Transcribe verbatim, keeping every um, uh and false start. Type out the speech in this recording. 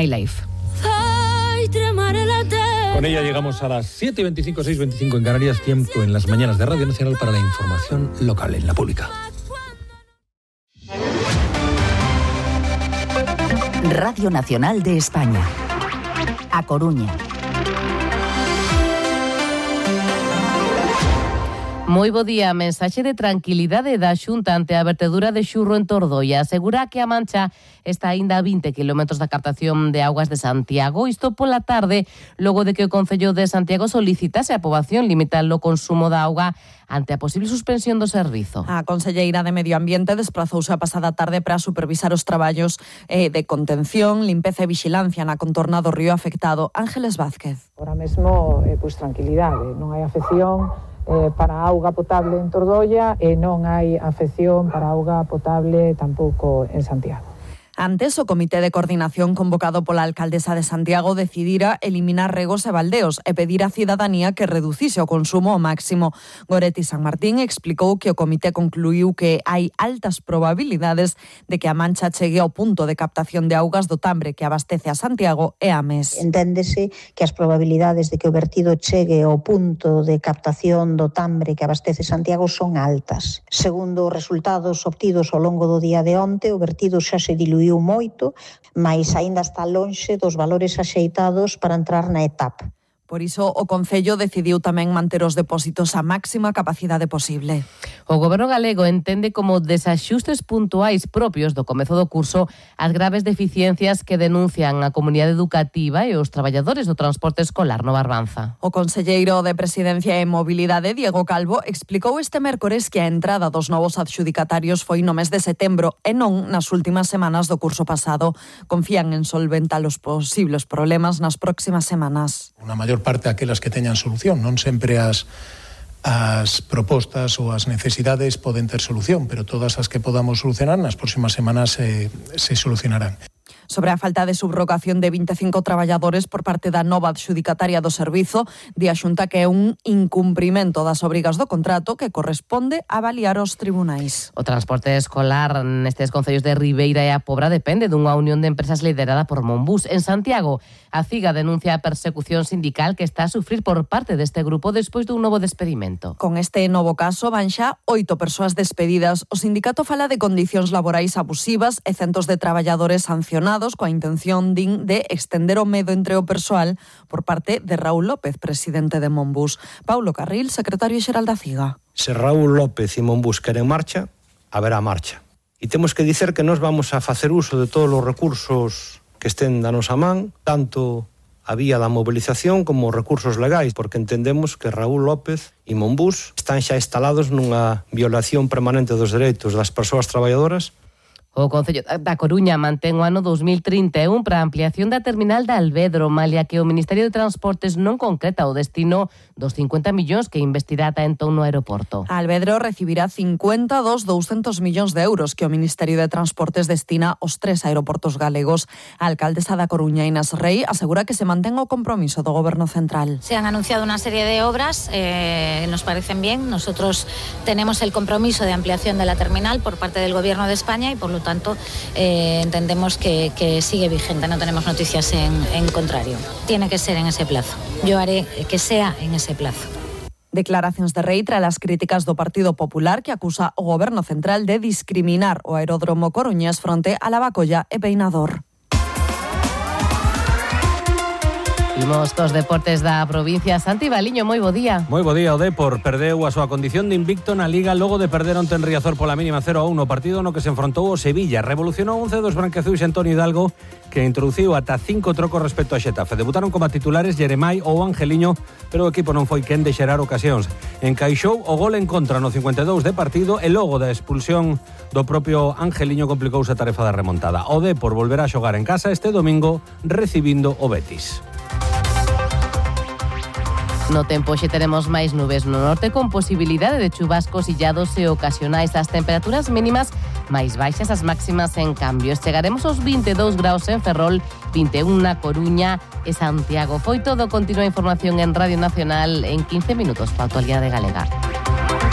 Highlife. Con ella llegamos a las siete y veinticinco, seis y veinticinco en Canarias, tiempo en las mañanas de Radio Nacional para la información local en la pública. Radio Nacional de España. A Coruña. Moi bo día, mensaxe de tranquilidade da Xunta ante a vertedura de xurro en Tordoia. Asegura que a Mancha está aínda a vinte kilómetros da captación de augas de Santiago. Isto pola tarde, logo de que o Concello de Santiago solicitase a poboación limitar o consumo da auga ante a posible suspensión do servizo. A conselleira de Medio Ambiente desprazouse a pasada tarde para supervisar os traballos eh, de contención, limpeza e vixilancia na contorna do río afectado. Ángeles Vázquez. Ahora mesmo, eh, pois tranquilidade, non hai afección Eh, para a auga potable en Tordoia e non hai afección para a auga potable tampouco en Santiago. Antes, o Comité de Coordinación convocado pola alcaldesa de Santiago decidira eliminar regos e baldeos e pedir á cidadanía que reducise o consumo ao máximo. Goretti San Martín explicou que o comité concluiu que hai altas probabilidades de que a Mancha chegue ao punto de captación de augas do Tambre que abastece a Santiago e a Mes. Enténdese que as probabilidades de que o vertido chegue ao punto de captación do Tambre que abastece Santiago son altas. Segundo os resultados obtidos ao longo do día de onte, o vertido xa se diluiu moito, mas aínda está lonxe dos valores axeitados para entrar na etapa. Por iso, o Concello decidiu tamén manter os depósitos á máxima capacidade posible. O Goberno galego entende como desaxustes puntuais propios do comezo do curso as graves deficiencias que denuncian a comunidade educativa e os traballadores do transporte escolar no Barbanza. O conselleiro de Presidencia e Mobilidade, Diego Calvo, explicou este mércores que a entrada dos novos adxudicatarios foi no mes de setembro e non nas últimas semanas do curso pasado. Confían en solventar os posibles problemas nas próximas semanas. Unha maior parte aquelas que teñan solución, non sempre as as propostas ou as necesidades poden ter solución, pero todas as que podamos solucionar nas próximas semanas se, se solucionarán. Sobre a falta de subrogación de vinte e cinco traballadores por parte da nova adxudicataria do servizo, di a Xunta que é un incumprimento das obrigas do contrato que corresponde avaliar os tribunais. O transporte escolar nestes concellos de Ribeira e a Pobra depende dunha unión de empresas liderada por Monbús. En Santiago, a CIGA denuncia a persecución sindical que está a sufrir por parte deste grupo despois dun novo despedimento. Con este novo caso van xa oito persoas despedidas. O sindicato fala de condicións laborais abusivas e centos de traballadores sancionados coa intención din de extender o medo entre o persoal por parte de Raúl López, presidente de Monbús. Paulo Carril, secretario xeral da CIGA. Se Raúl López e Monbús queren marcha, haberá marcha. E temos que dicer que nós vamos a facer uso de todos os recursos que estén da nosa man, tanto a vía da movilización como os recursos legais, porque entendemos que Raúl López e Monbús están xa instalados nunha violación permanente dos dereitos das persoas traballadoras. O Concello da Coruña mantén o ano dos mil trinta e un para a ampliación da terminal de Alvedro, malia que o Ministerio de Transportes non concreta o destino dos cincuenta millóns que investirá ata entón no aeroporto. Alvedro recibirá cincuenta dos douscentos millóns de euros que o Ministerio de Transportes destina aos tres aeroportos galegos. A alcaldesa da Coruña, Inés Rey, asegura que se mantén o compromiso do Goberno Central. Se han anunciado una serie de obras, eh, nos parecen bien. Nosotros tenemos el compromiso de ampliación de la terminal por parte del Gobierno de España y por lo tanto eh, entendemos que, que sigue vigente, no tenemos noticias en, en contrario. Tiene que ser en ese plazo. Yo haré que sea en ese plazo. Declaracións de Rei tras as críticas do Partido Popular que acusa o Goberno Central de discriminar o aeródromo coruñés fronte a Lavacolla e Peinador. Imos cos deportes da provincia. Santi Baliño, moi bo día. Moi bo día, o Depor perdeu a súa condición de invicto na Liga logo de perder onte en Riazor pola mínima cero a uno, no partido no que se enfrontou o Sevilla. Revolucionou once dos branqueazuis Antonio Hidalgo, que introduciu ata cinco trocos respecto a Xetafe. Debutaron como titulares Jeremai ou Angeliño, pero o equipo non foi quen de xerar ocasións. Encaixou o gol en contra no cincuenta e dous de partido e logo da expulsión do propio Angeliño complicouse a tarefa da remontada. O Depor volverá a xogar en casa este domingo recibindo o Betis. No tempo xe teremos máis nubes no norte con posibilidade de chubascos illados e ocasionais. As temperaturas mínimas máis baixas, as máximas en cambios. Chegaremos aos vinte e dous graus en Ferrol, vinte e un na Coruña e Santiago. Foi todo. Continúa a información en Radio Nacional en quince minutos para a actualidade galega.